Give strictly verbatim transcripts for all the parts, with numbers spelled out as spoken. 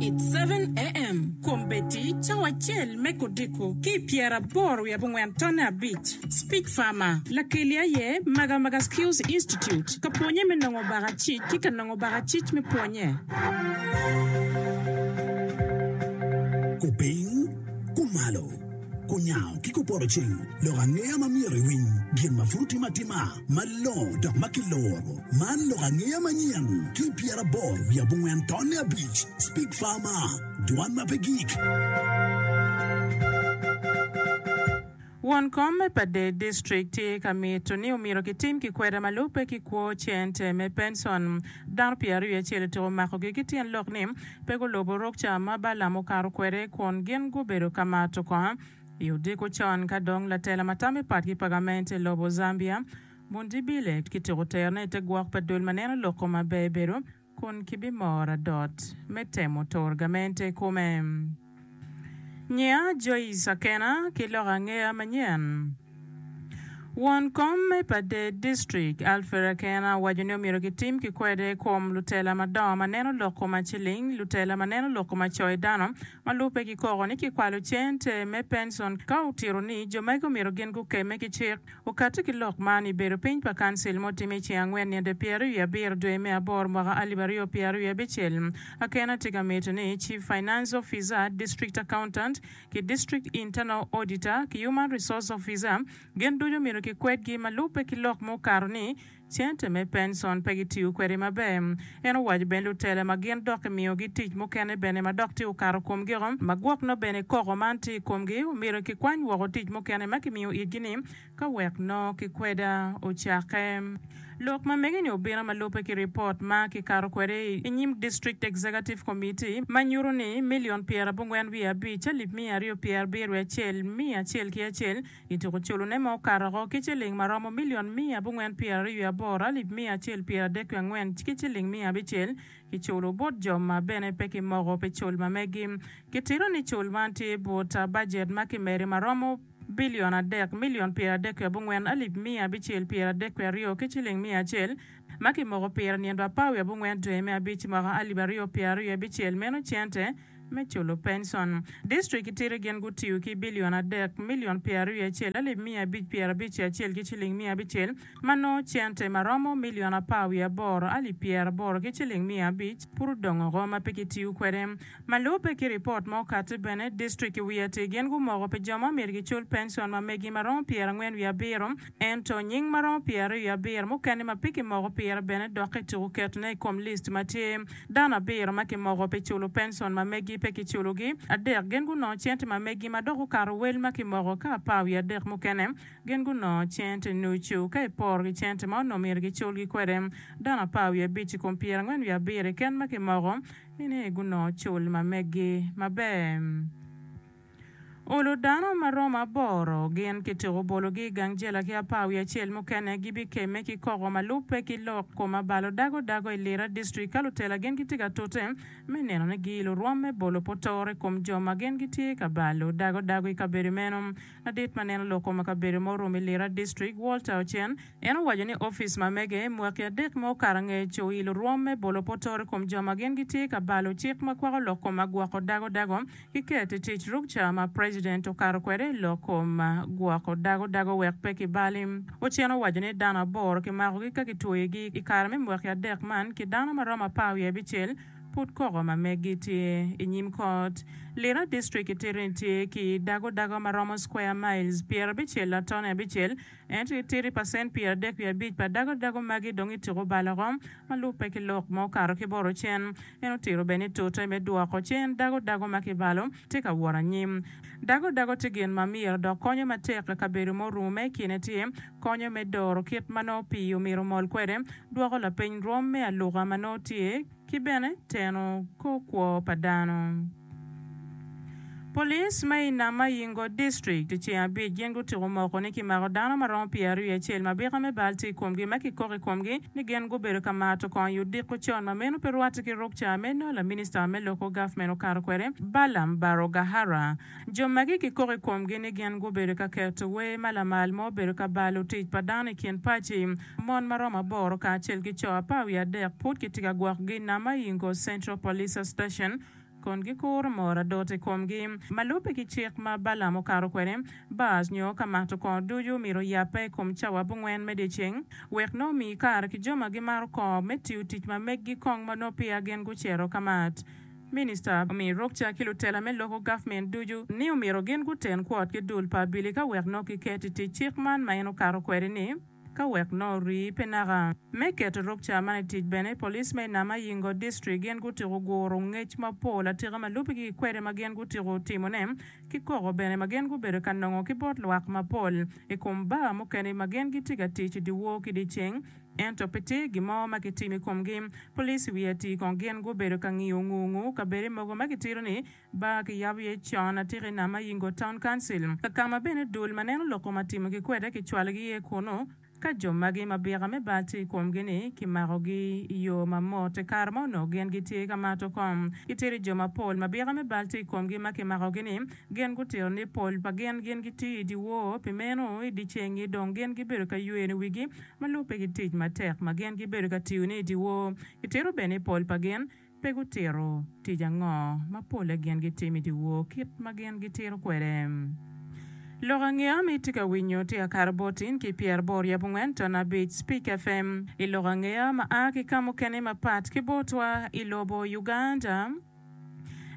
It's seven AM Kombeddi cawa acel me kodiko ki pyeraboro wiye abongwen tonne abic Speak Farmer Lakeli aye Magamaga Skills Institute ka pwonye me nongo bakacic ki ka nongo bakacic me pwonye. Kupiny, kumalo, kunyango ki kupoto ceng, lok angeya ma myero iwiny, gin ma pud otimo atima, malongo dok ma kiloro. Man lok angeya manyen ki pyeraboro wiye abongwen tonne abic Speak Farmer, dwan ma pe gik. Won kom me Pader District tye ka mito ni omyero kitim kikweda ma lubbe ki kwo cente me pension. Dano pyeraryo acel otyeko makogi ki tyen lok ni pe gulubo rukca ma Balaam okato kwede kun gin gubedo ka mato kongo i odiko con ka dong latela ma tamo i pat ki pa gamente i lobo Zambia Mundibile kityeko terone i te gwok pa dul ma neno lok kom maber bedo kun kibimoro adot me temo turo gamente i kome. Nyia Joyce Akena ki lok angeya manyen. Won kom me Pader District Alfred Akena owaco ni omyero kitim kikwede i kom lutela madongo ma neno lok kom aciling, lutela ma neno lok kom acoyo dano ma lubbe ki koko ni kikwalo cente me pension ka otito ni jo magi omyero gin gukemme ki cik. Okati ki lok man i bedo piny pa kancil ma otime i ceng angwen nino pyeraryo wiye abiro dwe me aboro mwaka alip aryo pyeraryo wiye abicel. Akena tye ka mito ni Chief Finance Officer, District Accountant ki District Internal Auditor ki Human Resource Officer gin ducu omyero kikwedgi ma lubbe ki lok ma okato ni cente me pension pe gitiyo kwede maber. En owaco bene lutela ma gin dok kimiyogi tic mukene bene ma dok tye okato komgio ma gwok nongo bene koko man tye i komgi omyero kikwany woko tic mukene ma kimiyo itgi ni ka wek nongo kikweda ocakke. Lok ma mege-ni obino ma lubbe ki ripot ma kikato kwede i nyim District Executive Committee ma nyuto ni milion pyerabongwen wiye abic alip miya aryo pyerabiro wiye acel miya acel ki acel Kituko culone ma okato oko ki ciling ma romo milion miya abongwen pyeraryo wiye aboro alip miya acel pyeradek wiye angwen ki ciling miya abicel kiculo bot jo ma bene pe kimoko pi cul ma megi. Kitito ni cul man tye but bajet ma kimedo ma romo bilion adek milion pyeradek wiye abongwen alip miya abicel pyeradek wiye aryo ki ciling miya acel ma kimoko pire nino apar wiye abongwen dwe me abic mwaka alip aryo pyeraryo wiye abicel meno cente me culo pension. Distrik tiri gin gutiyo ki bilion adek, milion pyeraryo wiye acel, alip miya abic pyerabic ki acel ki ciling miya abicel, ma nongo cente ma romo milion apar wiye aboro, alip pyeraboro ki ciling miya abic pud odong oko ma pe kitiyo kwede. Ma lubbe ki ripot ma okatti bene, distrik i wiye atir gin gumoko pi jo ma omyero gicul pension ma megi ma romo pyerangwen wiye abiro, ento nying ma romo pyeraryo wiye abiro mukene ma pe kimoko pire bene dok kituko ketone i kom list ma tye. Dano abiro ma kimoko pi culo pension ma megi pe kiculogi, adek gin gunongo cente ma megi ma dok okato wel ma kimoko, ka apar wiye adek mukene gin gunongo cente nucu ka iporo ki cente ma onongo myero giculgi kwede. Dano apar wiye abic i kom pyerangwen wiye abiro keken ma kimoko ni gunongo cul ma megi maber. Olo dano ma romo aboro gin kityeko bologi i gang jela ki apar wiye acel mukene gibikemme ki koko ma lubbe ki lok kom abalo dago dago i Lira District ka lutela gin gitye ka tute me neno ni giilo rwom me bolo potoro i kom jo ma gin gitye ka balo dago dago i kabedo meno. Ladit ma neno lok kom kabedo ma orumo i Lira District, Walter Ocen, en owaco ni opic ma mege mwaki adek ma okato angec oilo rwom me bolo potoro i kom jo ma gin gitye ka balo cik ma kwako lok kom agwoko dago dago ki keto i tic rukca ma president okato kwede i lok kom gwoko dago dago wek pe kibali. Ocen owaco ni dano aboro kimakogi ka kitweyogi i kare me mwaki adek man ki dano ma romo apar wiye abicel pud koko ma meggi tye i nyim kot. Lira District kitito ni tye ki dago dago ma romo square miles pyerabicel latone abicel ento itito i pacent pyeradek wiye abic pa dago dago magi dong ityeko balo oko ma lubbe ki lok ma okato ki bot Ocen. En otito bene ni tute me dwoko cen dago dago ma kibalo tye ka wot anyim. Dago dago tye gin ma myero dok konyo matek i kabedo ma orumo ma i kine tye konyo me doro kit ma nongo pii omyero omol kwede, dwoko lapiny rwom me aluka ma nongo tye ki bene teno kor kwo pa dano. Police ma i Namayingo District i ceng abic gin gutyeko moko ni kimako dano ma romo pyeraryo wiye acel ma bika me bal tye i komgi ma kikoko i komgi ni gin gubedo ka mato kongo i odiko con ma meno pe rwatte ki rukca me nongo laminista me loko gavment okato kwede Balaam Barugahara. Jo magi kikoko i komgi ni gin gubedo ka keto wer ma lamal ma obedo ka balo tic pa dano i kin paci. Mon ma romo aboro kacel ki co apar wiye adek pud kitye ka gwokogi i Namayingo Central Police Station Kun gikuro moro adot i komgi. Ma lubbe ki cik ma Balaam okato kwede, bars nyo ka mato kongo ducu myero oyabbe i kom cawa abongwen me dyeceng, wek nongo omi kare ki jo ma gimaro kongo me tiyo tic ma meggi kong ma nongo peya gin gucito ka mat. Minista omiyo rukca ki lutela me loko gavment ducu ni omyero gin guten kwot ki dul pa abili ka wek nongo kiket i tic cik man ma en okato kwede-ni. Ka wek nongo orii pe naka. Me keto rukca man i tic bene, police me Namayingo District gin gutiko guro ngec mapol atika ma lubbe ki kwede ma gin gutiko timone ki koko bene ma gin gubedo ka nongo ki bot lwak mapol i kom bar mukene ma gin gitye ka tic i dyewor ki dyeceng ento pe tye gin mo ma kitimo i komgi. Police i wi atir kong gin gubedo ka ngiyo ngu-ngu kabede mogo ma kitito ni Bar kiyabo iye con atika i Namayingo Town Council, ka ma bene dul ma neno lok kom atimogi kwede kicwalogi iye kunu. Ka jo magi ma byeka me bal tye i komgi-ni kimakogi i yo ma mot i kare ma onongo gin gitye ka mato kom. Gitye jo mapol ma byeka me bal tye i komgi ma kimakogi-ni, gin gutito ni pol pa gin gin gitiyo i dyewor, pi meno i dyeceng-ngi dong gin gibedo ka yweno wigi ma lubbe ki tic matek ma gin gibedo ka tiyone i dyewor. Gitito bene ni pol pa gin Pe gutito tic ango ma polle gin gitimo i dyewor kit ma gin gitito kwede. Lok angeya ma itye ka winyo tye ka kato bot in ki pyeraboro wiye abongwen ton abic Speak F M I lok angeya ma a ki ka mukene mapat ki botwa i lobo Uganda.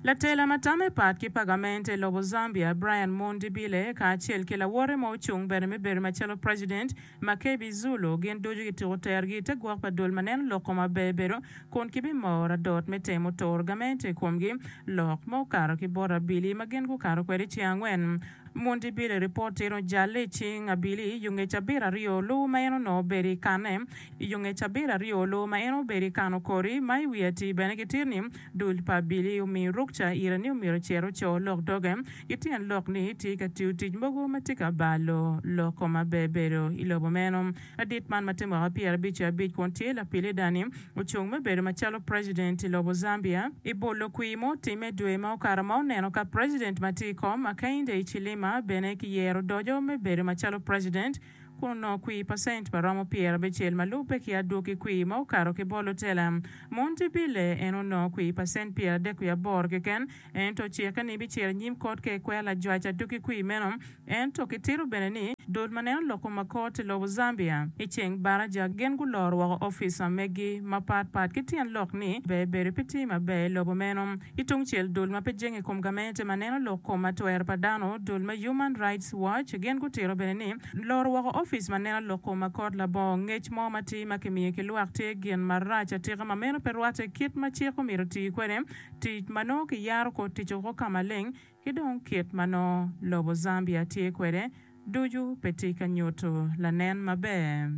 Latela ma tamme pat ki pa gamente i lobo Zambia, Brian Mundibile kacel ki lawote ma ocung bene me bedo macalo President, Makebi Zulu, gin ducu gituko tergi i te gwok pa dul ma neno lok kom aber bedo kun gibimoro adot me temo turo gamente i komgi. Lok ma okato ki bot abili ma gin gukato kwede ceng angwen. Mundibile ripot tito ojalle i cing abili yo nge cabit aryo olu ma en onongo obedo i kanne. I yo nge cabit aryo olu ma en obedo i kano kori ma i wi atir bene gitito ni dul pa abili omiyo rukca ire ni omyero ocit oco lok doge ki tyen lok ni tye ka tiyo tic mogo ma tye ka balo loko maber bedo i lobo meno. Ladit man ma tye mwaka pyerabic ki abic kun tye lapilida-ni ocung me bedo macalo president i lobo Zambia i bolo kwir ma otimme dwe ma okato ma oneno ka president ma tye i kom Hakainde Hichilema bene kiyero odoco me bedo macalo president kun onongo kwir pacent ma romo pyerabicel ma lubbe ki adwogi kwir ma okato ki bot lutela. Mundibile en onongo kwir pacent pyeradek wiye aboro keken ento ocikke ni bicito i nyim kot ka ekwero lajwac adwogi kwir meno. Ento kitito bene ni dul ma neno lok kom akot i lobo Zambia i ceng baraja gin guloro woko opic ma megi mapat pat ki tyen lok ni ber bedo pe tye maber i lobo meno. Ki tungcel dul ma pe jenge i kom gamente ma neno lok kom atwero pa dano dul me Human Rights Watch gin gutito bene ni loro woko opic ma neno lok kom akot labongo ngec mo matir ma kimiyo ki lwak tye gin marac atika ma meno pe rwatte kit ma cik omyero oti kwede tic ma nongo kiyaro kor tic woko ka maleng ki dong kit ma nongo lobo Zambia tye kwede ducu pe tye ka nyuto lanen maber.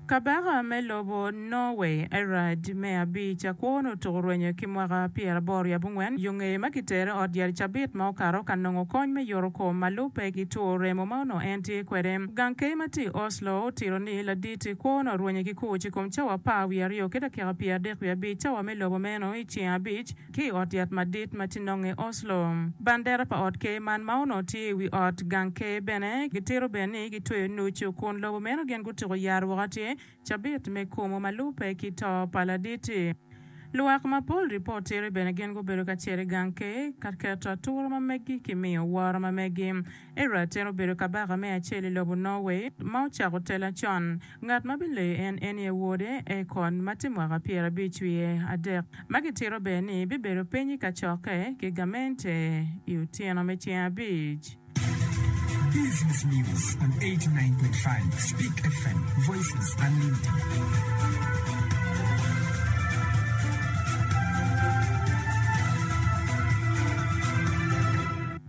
Kabaka me lobo Norway, Harald me abic, akwone otuko rwenyo ki mwaka pyeraboro wiye abongwen yo ngeye ma kitere ot yat i cabit ma okato ka nongo kony me yoto kom ma lubbe ki two remo ma onongo en tye kwede. Gang ker ma tye i Oslo otito ni ladit-ti kwone orwenyo ki kuc i kom cawa apar wiye aryo ki dakika pyeradek wiye abic cawa me lobo meno i ceng abic ki i ot yat madit ma tye nonge i Oslo. Bandera pa ot ker man ma onongo tye i wi ot gang ker bene gitito bene ni gitweyo nucu kun lobo meno gin gutuko yaro woko atir cabit me kumo ma lubbe ki to pa ladit-ti. Lwak mapol ripot tito bene gin gubedo ka cito i gang ker ka keto atura ma meggi ki miyo woro ma meggi. Era en obedo kabaka me acel i lobo Norway ma ocako tela con. Ngat ma bileyo en en aye wode, Ekon, ma tye mwaka pyerabic wiye adek, ma gitito bene ni bibedo piny i kacokke ki gamente i otyeno me ceng abic. Business News on eighty-nine point five Speak F M, Voices Unlimited.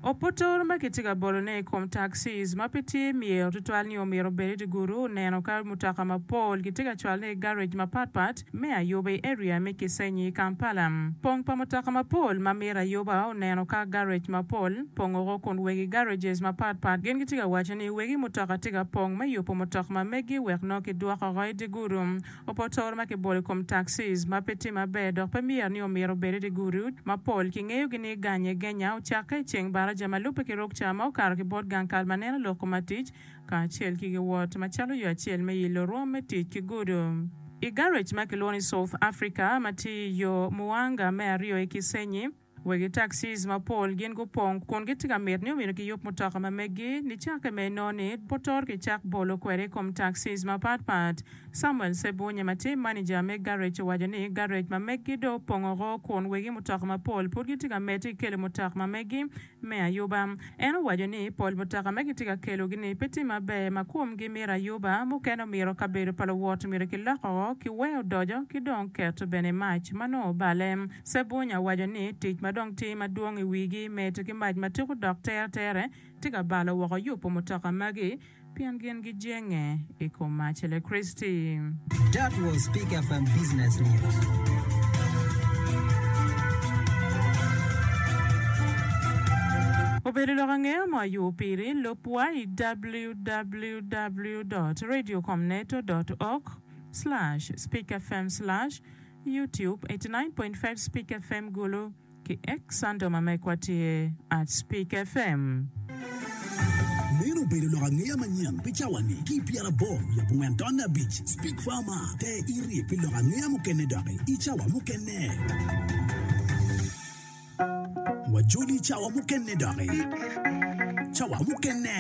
Opotoro ma kitye ka bolone i kom taxis ma pe tye myero tutwal ni omyero obed i dye gudo oneno ka mutoka mapol kitye ka cwalone i garage mapatpat me ayuba i area me Kisenyi i Kampala. Pong pa mutoka mapol ma mito ayuba oneno ka garage mapol pong oko kun wegi garages mapatpat gin gitye ka waco ni wegi mutoka tye ka pong me yubo mutoka ma megi wek nongo kidwoko oko i dye gudo. Opotoro ma kibolo i kom taxis ma pe tye maber dok pe myero ni omyero obed i dye gudo mapol kingeyogi ni ganye genya ocakke i ceng baraja ma lubbe ki rukca ma okato ki bot gang kal ma neno lok kom tic kacel ki giwot macalo yo acel me yilo rwom me tic ki gudo. I garage ma kilwongo ni South Africa ma tye i yo Muwanga me aryo i Kisenyi, Wegi taxis mapol gin gupong kun gitye ka mito ni omyero giyub mutoka ma meggi nicakke me inongo ni poto kicak bolo kwede i kom taxis mapatpat. Samuel Sebunye ma tye manija me garage owaco ni garage ma meggi dong opong oko kun wegi mutoka mapol pud gitye ka medde ki kelo mutoka ma meggi me ayuba. En owaco ni pol mutoka ma gitye ka kelogi-ni pe tye maber ma komgi mito ayuba, mukene omyero kabedo pa luwot myero kilok oko kiwe odoco ki dong keto bene mac ma nongo obale. Sebunya owaco ni tic ma dong tye madwong i wigi medo ki mac ma tuko dok teretere tye ka balo woko yubo mutoka magi pien gin gijenge i kom mac electricity. That was Speak F M Business News. Obedo lok angeya mo ayub piri lubwa i w w w dot radiocomneto dot org slash speakfm slash youtube eighty-nine point five Speak F M Gulu ki X handle ma mekwa tye at Speak F M. Meno obedo lok angeya manyen pi cawa-ni ki pyeraboro wiye abongwen tonne abic Speak Farmer te iri pi lok angeya mukene doki i cawa mukene. Wajoli cawa mukene doki. Cawa mukene.